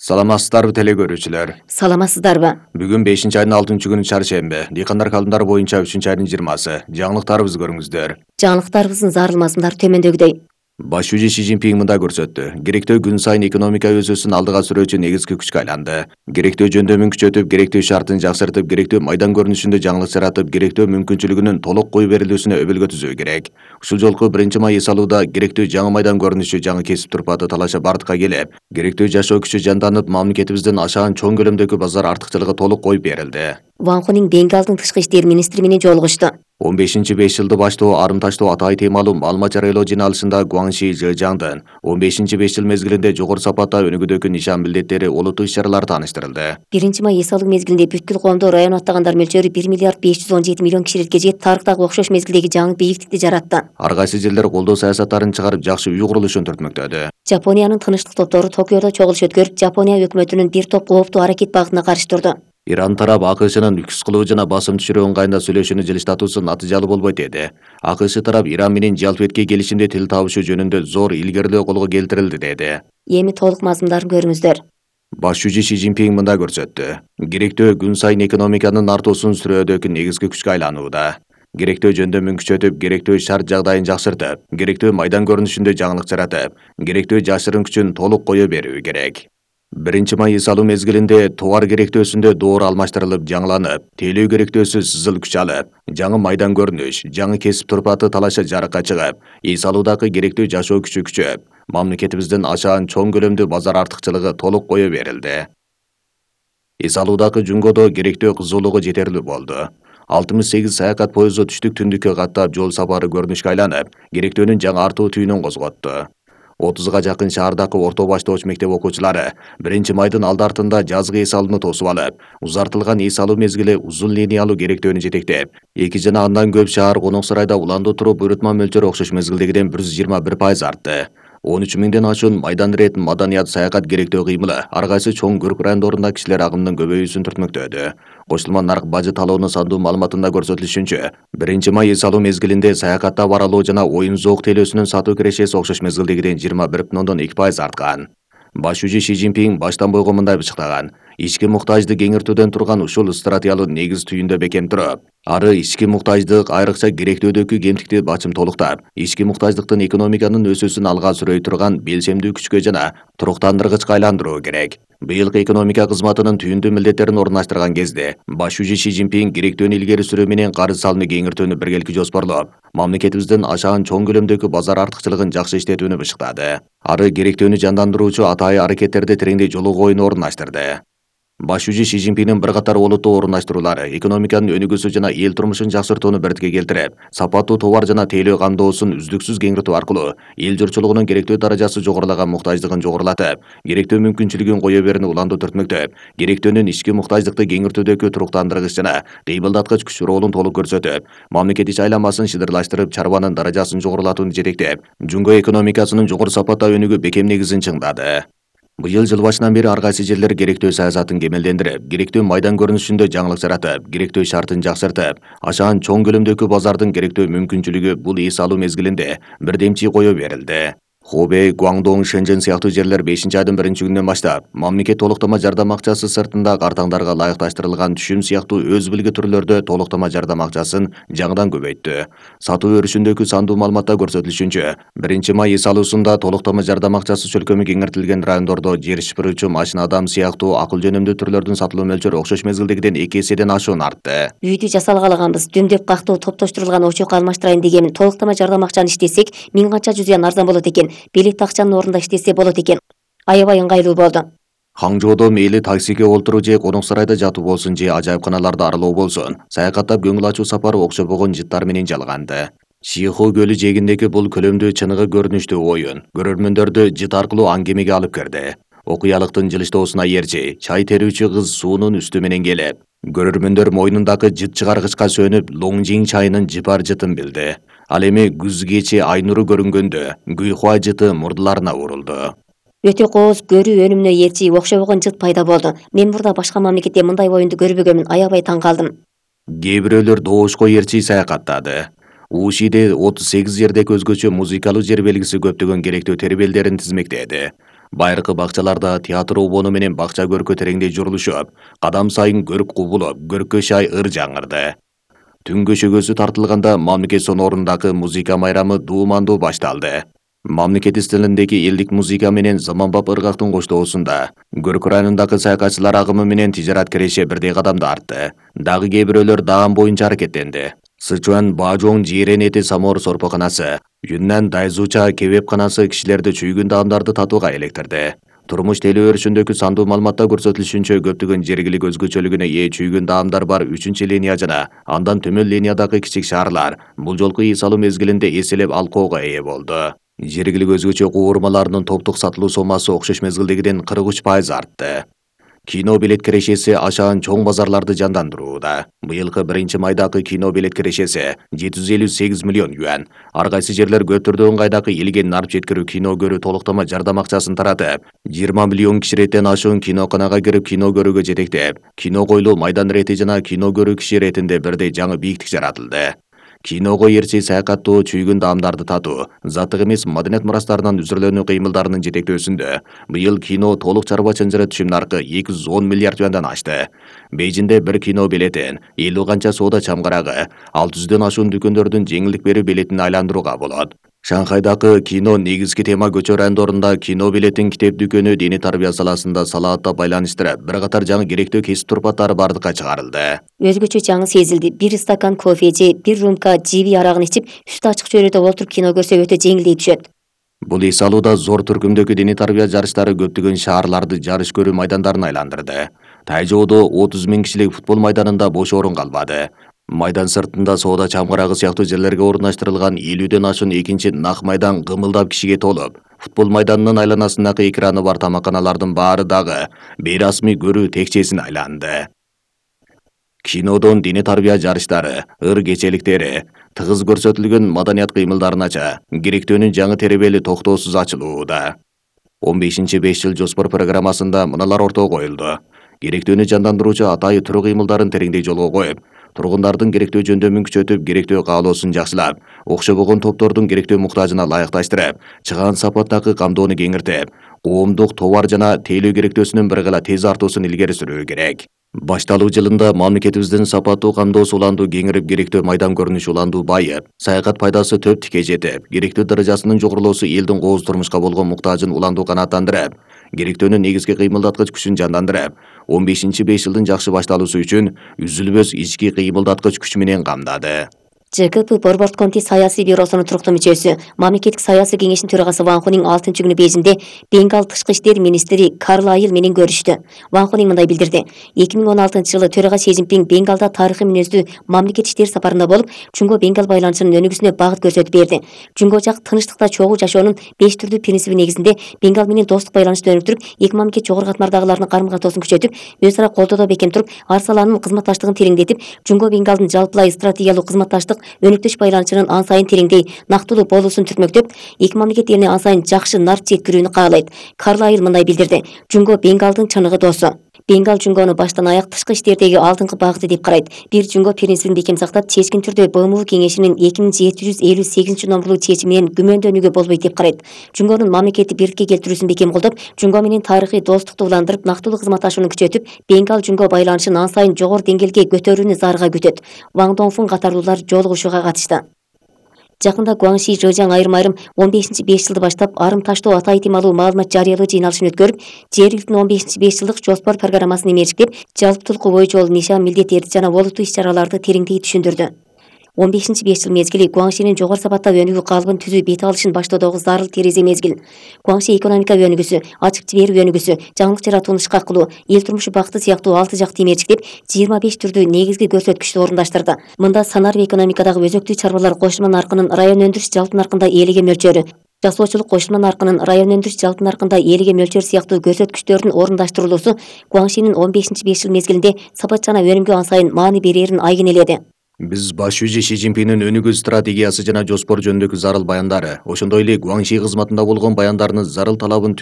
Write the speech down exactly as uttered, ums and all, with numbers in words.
Саламатсыздарбы теле көрүүчүлөр. Саламатсыздарбы? Бүгүн бешинчи айдын алтынчы күнү чаршемби. Дыйкандар калымдары боюнча үчүнчү айдын жыйырмасы. Жаңылыктарыбызды көрүңүздөр. Жаңылыктарыбыздын зарылмасындары төмөндөгүдөй. Баш жүзү Си Цзиньпин мындай көрсөттү. Керектөө күн сайын экономика өсүүсүн алдыга сүрүүчү негизги күчкө айланды. Керектөө жөндөмүн күчөтүп, керектөө шартын жакшыртып, керектөө майдан көрүнүшүндө жаңылык жаратып, керектөө мүмкүнчүлүгүнүн толук кою берилүүсүнө өбөлгө түзүү керек. Ушул жолку биринчи май эс алууда керектөө жаңы майдан көрүнүшү, жаңы кесип турпаты талаша бардыкка келип, керектөө жашоо күчү жанданып, мамлекетибиздин ашаан чоң көлөмдөгү базар артыкчылыгы толук коюп берилди. Ван Хунин Бенгалдын тышкы иштер министри менен жолугушту. он бешинчи беш жылды баштоо арым таштоо атайы темалуу маалымат жарыялоо жыйналышында Гуаңши Жыжаңдын он бешинчи беш жыл мезгилинде жогору сапатта өнүгүүдөгү нишан милдеттери олуттуу иш-чаралары тааныштырылды. биринчи май эс алуу мезгилинде бүткүл коомдо район аттагандар мөлчөрү бир миллиард беш жүз он жети миллион кишилекке жетип, тарыхтагы окшош мезгилдеги жаңы бийиктикти жаратты. Ар кайсы жерлер колдоо саясаттарын чыгарып, жакшы үй курулушун түртмөктөдү. Жапониянын тынычтык топтору Токиодо чогулуш өткөрүп, Жапония өкмөтүнүн бир топ кооптуу аракет багытына каршы турду. Иран тарап АКШнын үкүс кылуу жана басым түшүрүү ыңгайында сүйлөшүүнү жылыштатуусу натыйжалуу болбойт деди. АКШ тарап Иран менен жалпы келишимде тил табышуу жөнүндө зор илгерилөө колго келтирилди деди. Эми толук мазмундарын көрүңүздөр. Баш жүзү Си Цзиньпин мындай көрсөттү. Керектөө күн сайын экономиканын артуусун сүрөөдөгү негизги күчкө айланууда. Керектөө жөндөмүн күчөтүп, керектөө шарт жагдайын жакшыртып, керектөө майдан көрүнүшүндө жаңылык жаратып, керектөө жашырын күчүн толук кое берүү керек. биринчи май эс алуу мезгилинде товар керектөөсүндө доор алмаштырылып, жаңыланып, тейлөө керектөөсү сызыл күч алып, жаңы майдан көрүнүш, жаңы кесип турпаты талаша жарыкка чыгып, эс алуудагы керектөө жашоо күчү күчөп, мамлекетибиздин ашаан чоң көлөмдүү базар артыкчылыгы толук кое берилди. Эс алуудагы жунгодо керектөө кызуулугу жетерлүү болду. алтымыш сегиз саякат поезду түштүк түндүккө каттап, жол сапары көрүнүшкө айланып, керектөөнүн жаңы артуу түйүнүн козготту. отузга жакын шаардагы орто баштооч мектеп окуучулары биринчи майдын алды артында жазгы эс алууну тосуп алып, узартылган эс алуу мезгили узун линиялуу керектөөнү жетектеп, эки жана андан көп шаар конок сарайда уланды туруп буйрутма мөлчөрү окшош мезгилдегиден бир жүз жыйырма бир пайыз артты. он үч миңден ашуун майдан ирет, маданият, саякат керектөө кыймылы ар кайсы чоң көрк райондорунда кишилер агымынын көбөйүүсүн түртмөктөдү. Кошулма нарк бажы талоонун сандуу маалыматында көрсөтүлүшүнчө, биринчи май эс алуу мезгилинде саякатта баралоо жана оюн зоок тейлөөсүнүн сатуу кирешеси окшош мезгилдегиден жыйырма бир бүтүн ондон эки пайыз арткан. Баш жүзү Си Цзиньпин баштан бойго мындай бычыктаган. Ички муктажды кеңиртүүдөн турган ушул стратегиялуу негиз түйүндө бекем туруп, ары ички муктаждык, айрыкча керектөөдөгү кемтикти бачым толуктап, ички муктаждыктын экономиканын өсүүсүн алга сүрөй турган белсемдүү күчкө жана туруктандыргычка айландыруу керек. Быйылкы экономика кызматынын түйүндүү милдеттерин орундаштырган кезде, баш жүзү Си Цзиньпин керектөөнү илгери сүрүү менен карыз салымы кеңиртүүнү биргеликти жоспарлоп, мамлекетибиздин ашаан чоң көлөмдөгү базар артыкчылыгын жакшы иштетүүнү бышыктады. Ары керектөөнү жандандыруучу атайы аракеттерди тереңдей жолугуу оюну орундаштырды. Баш жүзү Си Цзиньпиндин бир катар олуттуу орундаштыруулары экономиканын өнүгүүсү жана эл турмушун жакшыртууну бирдикке келтирип, сапаттуу товар жана тейлөө кандоосун үздүксүз кеңиртүү аркылуу эл журтчулугунун керектөө даражасы жогорулаган муктаждыгын жогорулатып, керектөө мүмкүнчүлүгүн кое берүүнү уланды түртмөктөп, керектөөнүн ички муктаждыкты кеңиртүүдөгү туруктандыргыч жана кыймылдаткыч күч ролун толук көрсөтүп, мамлекет ич айланмасын шыдырлаштырып, чарбанын даражасын жогорулатууну жетектеп, жумго экономикасынын жогору сапатта өнүгүү бекем негизин чыңдады. Быйыл жыл башынан бери ар кайсы жерлер керектөө саясатын кемелдендирип, керектөө майдан көрүнүшүндө жаңылык жаратып, керектөө шартын жакшыртып, ашаан чоң көлөмдөгү базардын керектөө мүмкүнчүлүгү бул эс алуу мезгилинде бирдемчи кое берилди. Хубэй, Гуаңдоң, Шэньчжэн сыяктуу жерлер бешинчи айдын биринчи күнүнөн баштап мамлекет толуктама жардам акчасы сыртында картаңдарга ылайыкташтырылган түшүм сыяктуу өз билги түрлөрдө толуктама жардам акчасын жаңыдан көбөйттү. Сатуу өрүшүндөгү сандуу маалыматта көрсөтүлүшүнчө, биринчи май эс алуусунда толуктама жардам акчасы чөлкөмү кеңиртилген райондордо жер шыпыруучу, машина адам сыяктуу акыл жөнөмдүү түрлөрдүн сатылуу мөлчөрү окшош мезгилдегиден эки эседен ашуун артты. Үйдү жасалгалаганбыз, дүмдөп кактуу топтоштурулган очок алмаштырайын дегенмин. Толуктама жардам акчаны иштесек, миң канча жүз арзан болот экен. Билет акчанын ордунда иштесе болот экен. Аябай ыңгайлуу болду. Хаңжоодо мейли таксиге олтуруу же конок сарайда жатуу болсун же ажайыпканаларды аралоо болсун, саякаттап көңүл ачуу сапары окшобогон жыттар менен жалганды. Шиху көлү жээгиндеги бул көлөмдүү чыныгы көрүнүштүү оюн көрөрмөндөрдү жыт аркылуу аңгемеге алып кирди. Окуялыктын жылыштоосуна ээрчи, чай терүүчү кыз суунун үстү менен келип, көрөрмөндөр мойнундагы жыт чыгаргычка сөнүп, Лоңжиң чайынын жыпар жытын билди. Ал эми күз кечи ай нуру көрүнгөндө Гүйхуа жыты мурдуларына урулду. Өтө кооз көрүү өнүмүнө ээрчи окшобогон жыт пайда болду. Мен мурда башка мамлекетте мындай оюнду көрбөгөмүн, аябай таң калдым. Кээ бирөөлөр доошко ээрчи саякаттады. Ушиде отуз сегиз жердеги өзгөчө музыкалуу жер белгиси көптөгөн керектөө тербелдерин тизмектеди. Байыркы бакчаларда театр убону менен бакча көркө тереңдей журулушуп, кадам сайын көрк кубулуп, көрккө шай ыр жаңырды. Түн көшөгөсү тартылганда мамлекет сонорундағы музыка майрамы дуумандуу башталды. Мамлекет стилиндеги элдик музыка менен заманбап ыргактын коштоосунда Көрк районундагы саякатчылар агымы менен тижарат киреше бирдей кадамды артты. Дагы кээ бирөөлөр даам боюнча аракеттенди. Сычуан Баажоң жээрен эти самор сорпоканасы, Юннан Дайзуча кебепканасы кишилерди чүйгүн даамдарды татууга электирди. Турмуш теле өрүшүндөгү сандуу маалыматта көрсөтүлүшүнчө көптөгөн жергилик өзгөчөлүгүнө ээ чүйгүн даамдар бар үчүнчү линия жана андан төмөн линиядагы кичик шаарлар бул жолку ий салуу мезгилинде эселеп алкоого ээ болду. Жергилик өзгөчө куурмаларынын топтук сатылуу сомасы окшош мезгилдегиден кырк үч пайыз артты. Кино билет кирешеси ашаан чоң базарларды жандандырууда. Быйылкы биринчи майдагы кино билет кирешеси жети жүз элүү сегиз миллион юан. Ар кайсы жерлер көтөрдүү ыңгайдагы илген нарп жеткирүү кино көрүү толуктама жардам акчасын таратып, жыйырма миллион киши реттен ашуун киноканага кирип кино көрүүгө жетектеп, кино койлуу майдан рети жана кино көрүү киши ретинде бирдей жаңы бийиктик жаратылды. Киного эрчи саякаттоо, чүйгүн даамдарды татуу, заттык эмес маданият мурастарынан үзүрүлөнүү кыймылдарынын жетектөөсүндө быйыл кино толук чарба чынжыры түшүм наркы эки жүз он миллиард юандан ашты. Бейжинде бир кино билетин элүү канча соода чамгарагы, алты жүздөн ашуун дүкөндөрдүн жеңилдик берүү билетине айландырууга болот. Шанхайдагы кино негизги тема көчөр райондорунда кино билетин китеп дүкөнү диний тарбия саласында салаатта байланыштырып, бир катар жаңы керектүү кесип турпаттары бардыкка чыгарылды. Өзгөчө жаңы сезилди. Бир стакан кофе же бир рюмка жиби арагын ичип, үстү ачык чөйрөдө отуруп кино көрсө өтө жеңилдей түшөт. Бул ий салууда зор түркүмдөгү диний тарбия жарыштары көптөгөн шаарларды жарыш көрүү майдандарына айландырды. Тайжоодо отуз миң кишилик футбол майданында бош орун калбады. Майдан сыртында соода чамгарагы сыяктуу жерлерге орундаштырылган элүүдөн ашуун экинчи нак майдан кымылдап кишиге толуп, футбол майданынын айланасындагы экраны бар тамаканалардын баары дагы бейрасмий көрүү текчесине айланды. Кинодон диний тарбия жарыштары, ыр кечеликтери, тыгыз көрсөтүлгөн маданият кыймылдарынача керектөөнүн жаңы теребели токтоосуз ачылууда. он бешинчи беш жыл жоспор программасында мыналар ортого коюлду. Керектөөнү жандандыруучу атайы түрү кыймылдарын тереңдей жолго коюп, тургундардын керектөө жөндөмүн күчөтүп, керектөө каалоосун жакшылап, окшобогон топтордун керектөө муктажына ылайыкташтырып, чыгаан сапаттагы камдоону кеңиртип, коомдук товар жана тейлөө керектөөсүнүн бир гана тез артуусун илгери сүрүү керек. Башталуу жылында мамлекетибиздин сапаттуу камдоосу уландуу кеңирип, керектөө майдан көрүнүшү уландуу байып, саякат пайдасы төп тике жетип, керектөө даражасынын жогорулоосу элдин кооз турмушка болгон муктажын уландуу канааттандырып, керектөөнүн негизги кыймылдаткыч күчүн жандандырып, он бешинчи беш жылдын жакшы башталуусу үчүн үзүлбөс ички кыймылдаткыч күч менен камдады. Ж К П Борборд комитет саясий бюросунун туруктуу мүчөсү, мамлекеттик саясий кеңештин төрагасы Ван Хунин алтынчы күнү Бейжиңде Бенгал тышкы иштер министри Карлайл менен көрүштү. Ван Хунин мындай билдирди. эки миң он алтынчы жылы төрага Си Цзиньпин Бенгалда тарыхый мүнөздүү мамлекет иштер сапарында болуп, Жунго Бенгал байланышынын өнүгүүсүнө багыт көрсөтүп берди. Жунго жак тынчтыкта чогуу жашоонун беш түрдүү принциби негизинде Бенгал менен достук байланышты өнүктүрүп, эки мамлекет жогорку катмардагылардын карым-катоосун күчөтүп, өз ара колдоодо бекем туруп, ар саланын кызматташтыгын тереңдетип, Жунго Бенгалдын жалпылай стратегиялык кызматташтык өнүктүш байланышынын ан сайын тереңдей, нактылуу болуусун түртмөктөп, эки мамлекет элине ан сайын жакшы нарп жеткирүүнү каалайт. Карлайл мындай билдирди. Жунго Бенгалдын чыныгы досу. Бенгал Жунгону баштан аяк тышкы иштердеги алдыңкы багыты деп карайт. Бир Жунго принцибин бекем сактап, чечкин түрдө Б М У кеңешинин эки миң жети жүз элүү сегизинчи номерлуу чечими менен күмөндөнүүгө болбойт деп карайт. Жунгонун мамлекетти бирликке келтирүүсүн бекем колдоп, Жунго менен тарыхый достукту уландырып, нактылуу кызматташууну күчөтүп, Бенгал Жунго байланышын ан сайын жогору деңгээлге көтөрүүнү зарга күтөт. Ван Доңфун катарлуулар жолугушууга катышты. Жакында Гуаңши Жэжяң айрым-айрым он бешинчи беш жылды баштап арым таштоо ата этималуу маалымат жарыялоо жыйналышын өткөрүп, жергиликтин он бешинчи беш жылдык жоспор программасын эмерчиктеп, жалпытуулуку боюнча ол нишан милдеттерди жана олуттуу иш-чараларды тереңдей түшүндүрдү. он бешинчи беш жыл мезгили Гуаңшинин жогору сапаттагы өнүгүү калыбын түзүү бет алышын баштоодогу зарыл терезе мезгил. Гуаңши экономика өнүгүүсү, ачык жиберүү өнүгүүсү, жаңылык жаратууну ишке кылуу, эл турмушу бакыты сыяктуу алты жакты эмерчиктеп, жыйырма беш түрдүү негизги көрсөткүчтү орундаштырды. Мында санар экономикадагы өзөктүү чарбалар кошулма наркынын район өндүрүш жалпы наркында элиге мөлчөрү, жасоочулук кошулма наркынын район өндүрүш жалпы наркында элиге мөлчөр сыяктуу көрсөткүчтөрдүн орундаштырылуусу Гуаңшинин он бешинчи беш жыл мезгилинде сапат жана өнүмгө ан сайын маани берерин айгинеледи. Биз баш жүзү Си Цзиньпиндин өнүгүү стратегиясы жана жоспор жөнүндөгү зарыл баяндары, ошондой эле Гуаңши кызматында болгон баяндарынын зарыл талабын